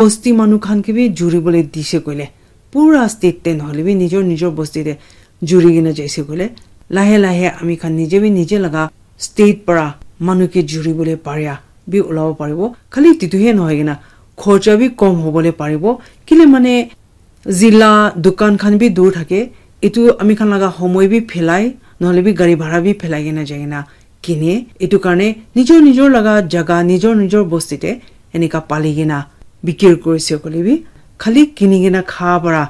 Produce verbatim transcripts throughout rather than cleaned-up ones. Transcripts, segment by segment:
bosti manu khan ke bi juri bole dise koile, pura state te nohole bi nijor nijor bosti te juri kena jaise koile, lahe lahe ami khan nije bi nije laga state para manu ke juri bole paria bi ulabo paribo. Khali titu he nohoi kena khorcha bi kom hobole paribo. Kile mane zila dukan khan bi dur thake, etu ami khan laga homoi bi phelai, nohole bi gari bhara bi phelai kena jai kena kine. Etu karne nijor nijor laga jaga, nijor nijor bosti te enika pali kena bikir kurise koile bi, khali kini kena kha para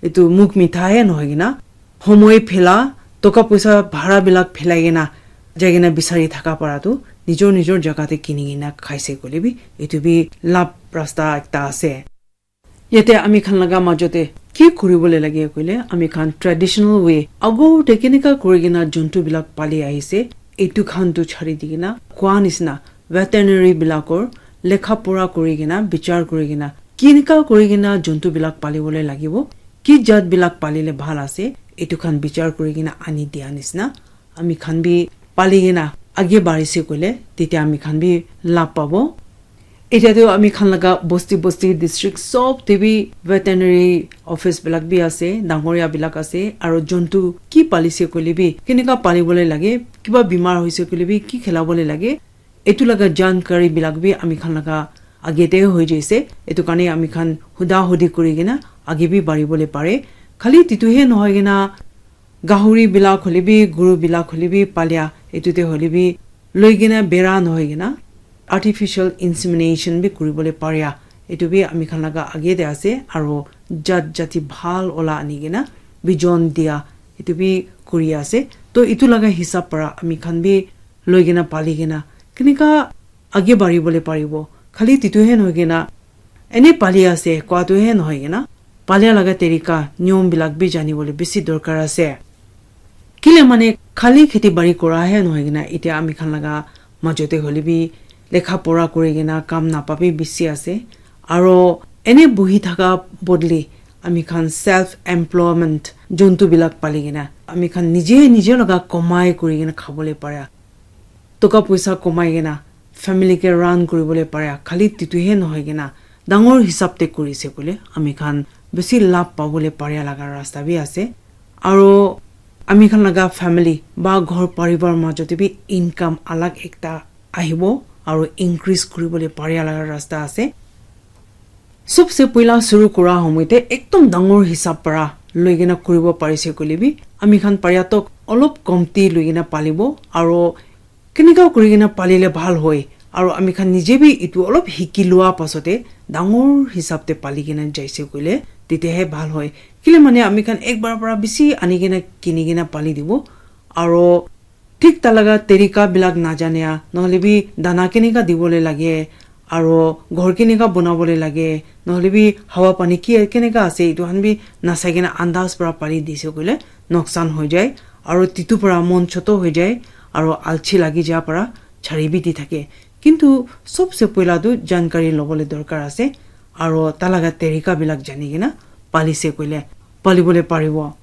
etu mukh mitha he nohoi kena, homoi phela, toka poisa bhara bilak phelai kena jai kena bisari thaka para tu nijor nijor jaga te kini kena khaise koile bi, etu bi lab rasta ekta ase. Yate ami khan laga majo te ki kuri bole lage koile, ami khan traditional way ago te kenika kuri kena jontu bilak pali ahise, etu khan tu chari di kena koa nisna veterinary bilakor lekha pora kuri kena, bichar kuri kena, kenika kuri kena jontu bilak pali bole lagibo, ki jat bilak pali le bhal ase, etu khan bichar kuri kena ani dia nisna ami khan bi pali kena age barise koile, tete ami khan bi lab pabo. Etia tu ami khan laga bosti bosti district sob te bi veterinary office bilak bi ase, dangoria bilak ase, aro jontu ki palise koile bi, kenika pali bole lage, kiba bimar hoise koile bi, ki khela bole lage, etu laga jankari bilak bi ami khan laga age te hoi jaise. Etu karne ami khan huda hudi kuri kena age bi bari bole pare. Khali titu he nohoi kena gahuri bilak hole bi, guru bilak hole bi palia, etu te hole bi loi kena bera nohoi kena artificial insemination bi kuri bole paria. Etu bi ami khan laga age te ase, aro jat jati bhal ola ani kena bijon dia, etu bi kuri ase. To etu laga hisab para ami khan bi loi kena pali kena kenika age bari bole paribo. Khali titu he nohoi kena ene pali ase koa tu he nohoi kena, palia laga terika, niyom bilak bi jani bole bisi dorkar ase. Kile mane khali kheti bari kora he nohoi kena, etia ami khan laga majo te hole bi lekha pora kuri kena kam napa bi bisi ase. Aro ene buhi thaka bodli ami khan self employment jontu bilak pali kena ami khan nije nije laga komai kuri kena khabole para, toka poisa komai kena family ke run kuri bole para, khali titu he nohoi kena dangor hisab te kuri se koile ami khan bisi lab pabole paria laga rasta bi ase. Aro ami khan laga family ba ghor paribar majo te bi income alag ekta ahibo, aro increase kuri bole paria laga rasta ase. Sobse poila shuru kura homoi te ekdom dangor hisab para loi kena kuribo parise koile bi, ami khan paria tok olop komti loi kena palibo, aro kenika kuri kena palile bhal hoi, aro ami khan nije bi etu olop hiki lua pasote dangor hisab te pali kena jaise koile, tetia he bhal hoi. Kile mane ami khan ek bar para bisi ani kena kini kena pali dibo, aro thik ta laga terika bilak najane, nohole bi dana kenika dibole lage, aro ghor kenika bonabole lage, nohole bi hawa pani ki kenika ase, etu khan bi nasai kena andas para pali dise koile noksan hoi jai, aro titu para mon choto hoi jai, aro alchi lagi ja para chari bi di thake. Kintu sobse poila tu jankari lobole dorkar ase, aro ta laga terika bilak jani kena palise koile palibole paribo.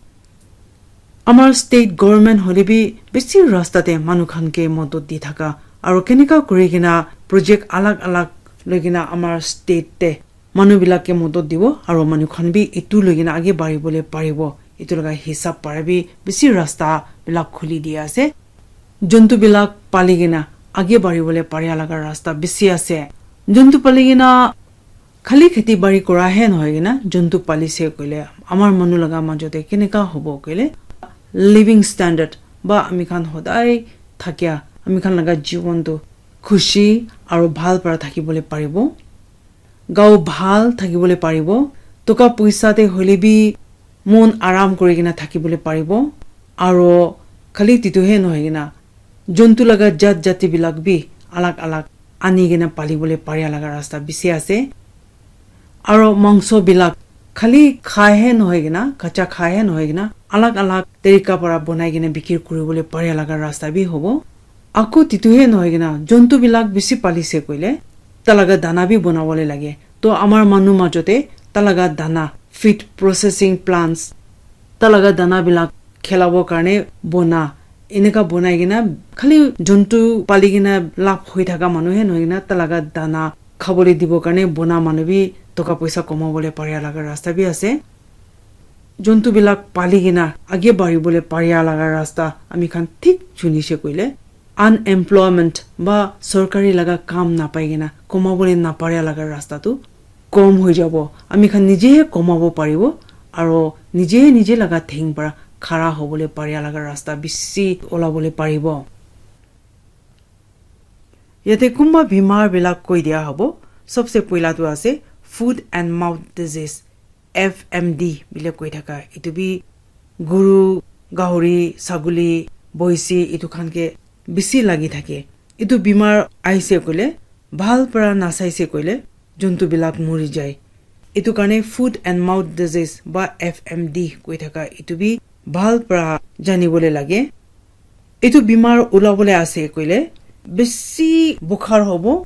Amar state government hole bi bisi rasta te manu khan ke modot di thaka, aro kenika kuri kena project alag alag loi kena amar state te manu bilak ke modot dibo, aro manu khan bi etu loi kena age bari bole paribo, etu laga hisab para bi bisi rasta bilak khuli di ase. Jontu bilak pali kena age bari bole paria laga rasta bisi ase. Jontu pali kena khali kheti bari kora he nohoi kena jontu palise koile amar manu laga majo te kenika hobo koile, living standard ba ami khan hodai thakia ami khan laga jiwon tu khushi aro bhal para thakibole paribo, gao bhal thakibole paribo, toka poisa te hole bi mon aram kuri kena thakibole paribo, aro khali titu he nohoi kena jontu laga jat jati bilak bi alag alag ani kena palibole paria laga rasta bisi ase. Aro mangso bilak khali khai he nohoi kena, kacha khai he nohoi kena, alag alag terika para bonai kena bikir kuribole paria laga rasta bi hobo. Ako titu he nohoi kena jontu bilak bisi palise koile ta laga dana bi bonabole lage. To amar manu majo te ta laga dana, feed processing plants, ta laga dana bilak khelabo karne bona, eneka bonai kena khali jontu pali kena lab hoi thaka manu he nohoi kena ta laga dana khabole dibo karne bona manu bi toka poisa komabole paria laga rasta bi ase. Jontu bilak pali kena age baribole paria laga rasta ami khan thik chunishe koile, unemployment ba sorkari laga kam napai kena komabole naparia laga rasta tu kom hoi jabo. Ami khan nije he komabo paribo, aro nije nije laga theng para khara hobole paria laga rasta bishi olabole paribo. Yate kunba bimar bilak koi dia hobo, sobse poila tu ase foot and mouth disease, F M D bile koi thaka. Etu bi guru, gahori, saguli, boisi etu khan ke bishi lagi thake. Etu bimar aise koile, bhal para nasaise koile, jontu bilak mori jai. Etu karne foot and mouth disease ba F M D koi thaka etu bi bhal para janibole lage. Etu bimar ulabole ase koile, bishi bukhar hobo.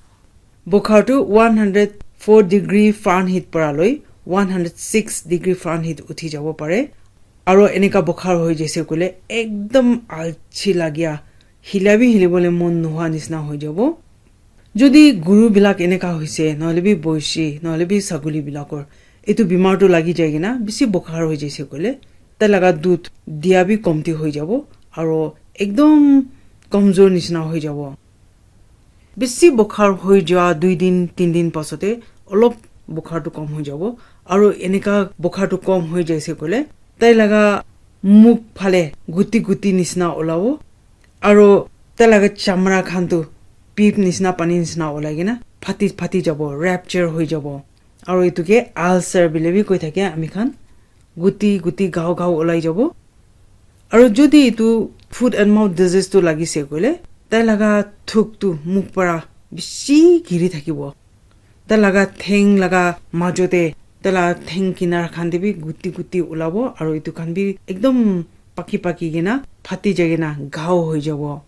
Bukhar tu one hundred four degree Fahrenheit para loi one hundred six degree Fahrenheit uthi jabo pare. Aro eneka bukhar hoi jaise koile, ekdom alchi lagia, hila bi hilibole mon nohoa nisna hoi jabo. Jodi guru bilak eneka hoise, nohole bi boisi, nohole bi saguli bilakor, etu bimar tu lagi jai kena bishi bukhar hoi jaise koile, tai laga dudh dia bi komti hoi jabo, aro ekdom komjor nisna hoi jabo. Bishi bukhar hoi jua dui din, tin din pasote olop bukhar tu kom hoi jabo, aro eneka bukhar tu kom hoi jaise koile, tai laga mukh phale guti guti nisna olabo, aro tai laga chamra khan tu pip nisna, pani nisna olai kena phati phati jabo, rupture hoi jabo. Aro etu ke ulcer bile bi koi thake ami khan, guti guti gao gao olai jabo. Aro jodi etu foot and mouth disease tu lagise koile, tai laga thuk tu mukh para bishi giri thakibo. Tai laga theng laga majote, tai laga theng kinar khan te bi guti guti ulabo, aro etu khan bi ekdom paki paki kena phati jai kena gao hoi jabo.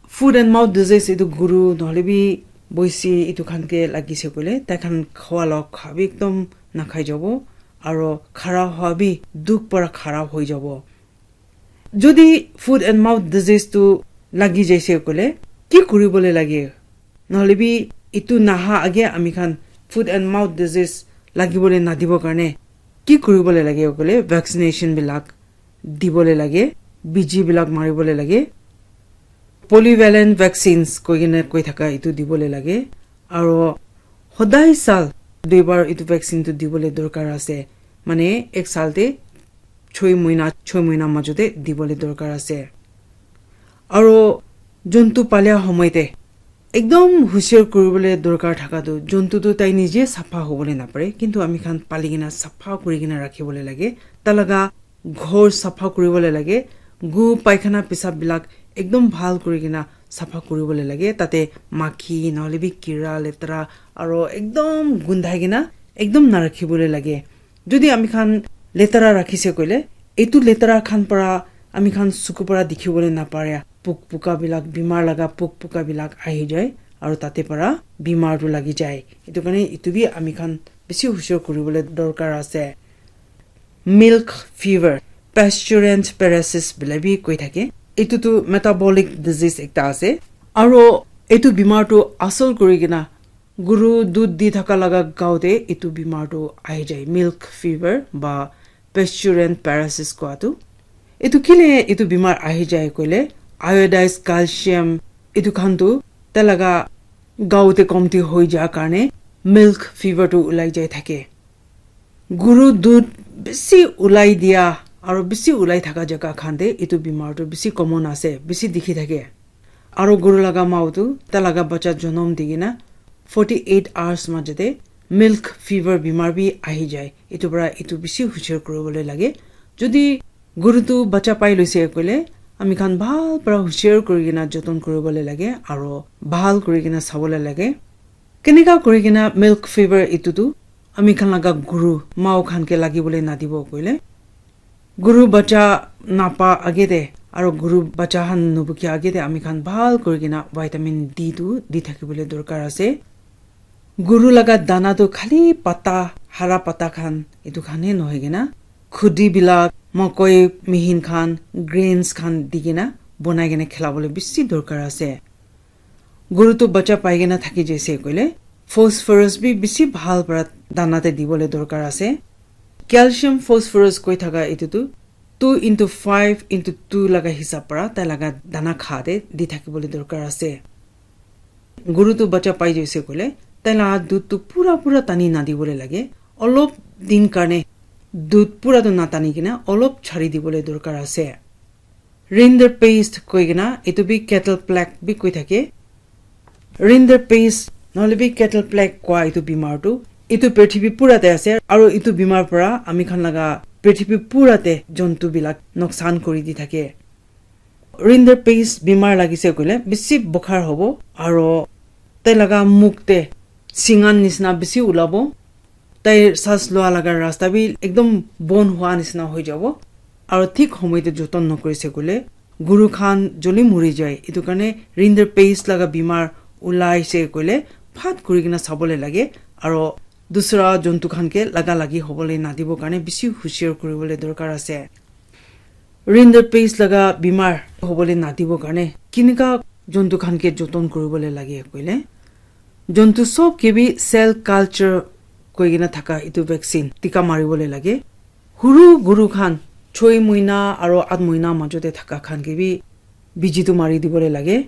Foot and mouth disease etu guru nohole bi boisi etu khan ke lagise koile, tai khan khwa la kha bi ekdom nakhai jabo, aro khara hwa bi dukh para khara hoi jabo. Jodi foot and mouth disease tu lagi jaise koile, ki kuribole lage? Nohole bi etu naha age ami khan foot and mouth disease lagibole nadibo karne ki kuribole lage koile, vaccination bilak dibole lage, biji bilak maribole lage, polyvalent vaccines koi kena koi thaka etu dibole lage, aro hodai sal duibar etu vaccine tu dibole dorkar ase, mane ek sal te choi moina, choi moina majote dibole dorkar ase. Aro jontu palia homoi te ekdom husiar kuribole dorkar thaka tu, jontu tu tai nije sapha hobole napare, kintu ami khan pali kena sapha kuri kena rakhibole lage. Tai laga ghor sapha kuribole lage, gu paikhana pisap bilak ekdom bhal kuri kena sapha kuribole lage. Tate makhi nohole bi kira, letera aro ekdom gundhai kena ekdom narakhibole lage. Jodi ami khan letera rakhise koile, etu letera khan para ami khan suku para dikhibole napare. Puk puka bilak, bimar laga puk puka bilak ahi jai, aro tate para bimar tu lagi jai. Etu karne etu bi ami khan bishi husiar kuribole dorkar ase. Milk fever, pasturine paralysis bile bi koi thake. Etu tu metabolic disease ekta ase. Aro etu bimar tu asol kuri kena guru dudh di thaka laga gao te etu bimar tu ahi jai, milk fever ba pasturine paralysis koa tu. Etu kile etu bimar ahi jai koile, iodized calcium etu khan tu tai laga gao te komti hoi ja karne milk fever tu ulai jai thake. Guru dudh bishi ulai dia aro bishi ulai thaka jaga khan te etu bimar tu bishi common ase, bishi dikhi thake. Aro guru laga mao tu tai laga bacha jonom di kena forty eight hours majate milk fever bimar bi ahi jai. Etu para etu bishi husiar kuribole lage. Jodi guru tu bacha pai loise koile, ami khan bhal para husiar kuri kena joton kuribole lage aro bhal kuri kena sabole lage. Keneka kuri kena milk fever etu tu ami khan laga guru mao khan ke lagibole nadibo koile, guru bacha napa age te aro guru bacha khan nubukia age te ami khan bhal kuri kena vitamin D tu di thakibole dorkar ase. Guru laga dana tu khali pata, hara pata khan etu khan he nohoi kena, khudi bilak, mokoi, mihin khan, grains khan di kena bonai kena khilabole bishi dorkar ase. Guru tu bacha pai kena thaki jaise koile, phosphorus bi bishi bhal para dana te dibole dorkar ase. Calcium phosphorus koi thaka etu tu two into five into two laga hisab para tai laga dana kha te di thakibole dorkar ase. Guru tu bacha pai jaise koile, tai laga dud tu pura pura tani nadibole lage. Olop din karne dud pura tu natani kena olop chari dibole dorkar ase. Rinderpest koi kena, etu bi cattle plague bi koi thake. Rinderpest, nohole bi cattle plague koa etu bimar tu, etu prithibi pura te ase, aro etu bimar para ami khan laga prithibi pura te jontu bilak noksan kuri di thake. Rinderpest bimar lagise koile, bishi bukhar hobo, aro tai laga muk te singan nisna bishi ulabo. Tai sas lua laga rasta bi ekdom bon hua nisna hoi jabo. Aro thik homoi te joton nokorise koile, guru khan joldi muri jai. Etu karne rinderpest laga bimar ulaise koile, phat kuri kena sabole lage. Aro dusra jontu khan ke laga lagi hobole nadibo karne bishi hushiar kuribole dorkar ase. Rinderpest laga bimar hobole nadibo karne kinika jontu khan ke joton kuribole lage koile, jontu sob ke bi cell culture koi kena thaka etu vaccine tika maribole lage. Huru guru khan choi moina aro at moina majo te thaka khan ke bi biji tu mari dibole lage.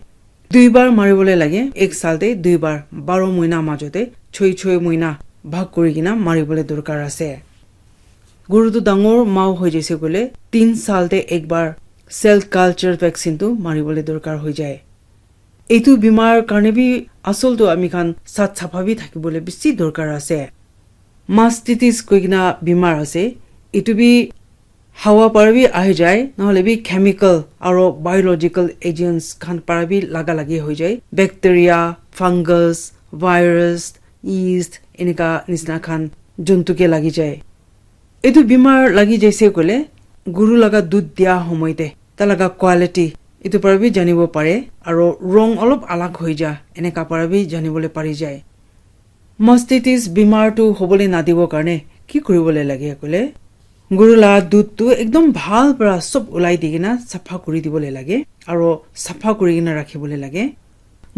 Dui bar maribole lage, ek sal te dui bar, baro moina majo te choi choi moina bhag kuri kena maribole dorkar ase. Guru tu dangor mau hoi jaise koile, tin sal te ek bar cell culture vaccine tu maribole dorkar hoi jai. Etu bimar karne bi asol tu ami khan sat sapha bi thakibole bishi dorkar ase. Mastitis koi kena bimar ase, etu bi hawa para bi ahi jai, nohole bi chemical aro biological agents khan para bi laga lagi hoi jai. Bacteria, fungus, virus, yeast, enika nisna khan jontu ke lagi jai. Etu bimar lagi jaise koile, guru laga dud dia homoi te, ta laga quality, etu para bi janibo pare, aro rong olop alag hoi ja, eneka para bi janibole pari jai. Mastitis bimar tu hobole nadibo karne ki kuribole lage koile, guru la dud tu ekdom bhal para sob ulai di kena sapha kuri dibole lage, aro sapha kuri kena rakhibole lage.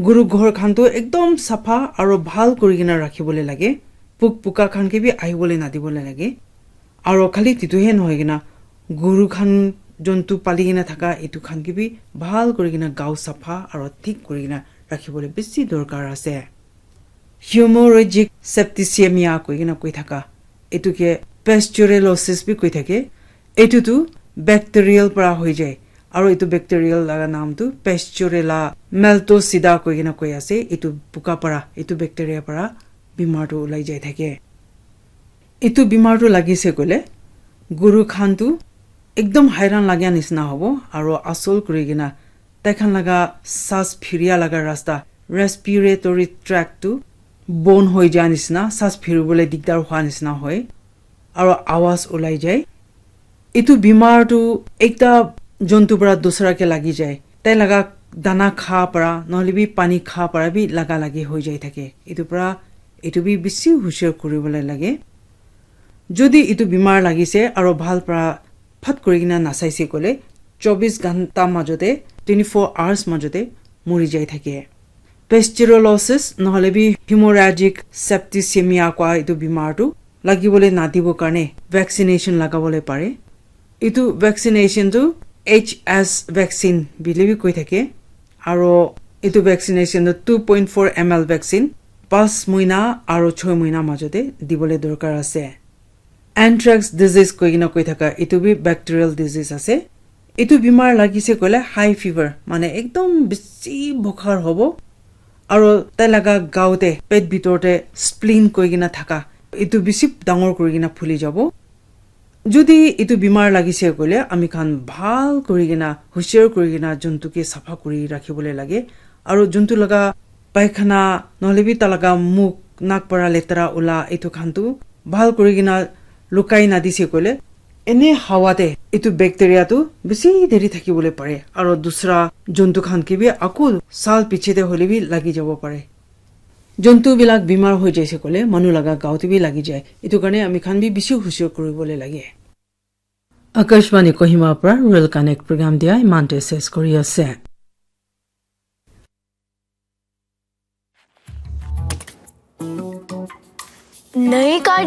Guru ghor khan tu ekdom sapha aro bhal kuri kena rakhibole lage. Puk puka khan ke bi ahibole nadibole lage. Aro khali titu he nohoi kena, guru khan jontu pali kena thaka etu khan ke bi bhal kuri kena gao sapha aro thik kuri kena rakhibole bishi dorkar ase. Hemorrhagic septicemia koi kena koi thaka, etu ke pasteurellosis bi koi thake. Etu tu bacterial para hoi jai, aro etu bacterial laga naam tu Pasteurella maltosida koi kena koi ase. Etu puka para, etu bacteria para bimar tu ulai jai thake. Etu bimar tu lagise koile, guru khan tu ekdom hairan lagia nisna hobo, aro asol kuri kena tai khan laga sas phiria laga rasta, respiratory tract tu bon hoi ja nisna, sas phiribole digdar hua nisna hoi, aro awaz ulai jai. Etu bimar tu ekta jontu para dusra ke lagi jai. Tai laga dana kha para, nohole bi pani kha para bi laga lagi hoi jai thake. Etu para, etu bi bishi hushiar kuribole lage. Jodi etu bimar lagise aro bhal para phat kuri kena nasaise koile, chobis ghanta majote, twenty four hours majote muri jai thake. Pasteurellosis nohole bi hemorrhagic septicemia koa etu bimar tu lagibole nadibo karne vaccination lagabole pare. Etu vaccination tu H S vaccine bili bi koi thake. Aro etu vaccination tu two point four M L vaccine pas moina aro choi moina majote dibole dorkar ase. Anthrax disease koi kena koi thaka, etu bi bacterial disease ase. Etu bimar lagise koile high fever, mane ekdom bishi bukhar hobo. Aro tai laga gao te, pet bitor te spleen koi kena thaka, etu bishi dangor kuri kena phuli jabo. Jodi etu bimar lagise koile, ami khan bhal kuri kena, hushiar kuri kena jontu ke sapha kuri rakhibole lage. Aro jontu laga paikhana, nohole bi ta laga muk, nak para letera ula, etu khan tu bhal kuri kena lukai nadise koile, ene hawa te etu bacteria tu bishi deri thakibole pare. Aro dusra jontu khan ke bi aku sal piche te hole bi lagi jabo pare. Jontu bilak bimar hoi jaise koile, manu laga gao te bi lagi jai. Etu karne ami khan bi bishi hushiar kuribole lage. Akashvani Kohima pra Rural Connect program dia imante ses kuri ase. नई कार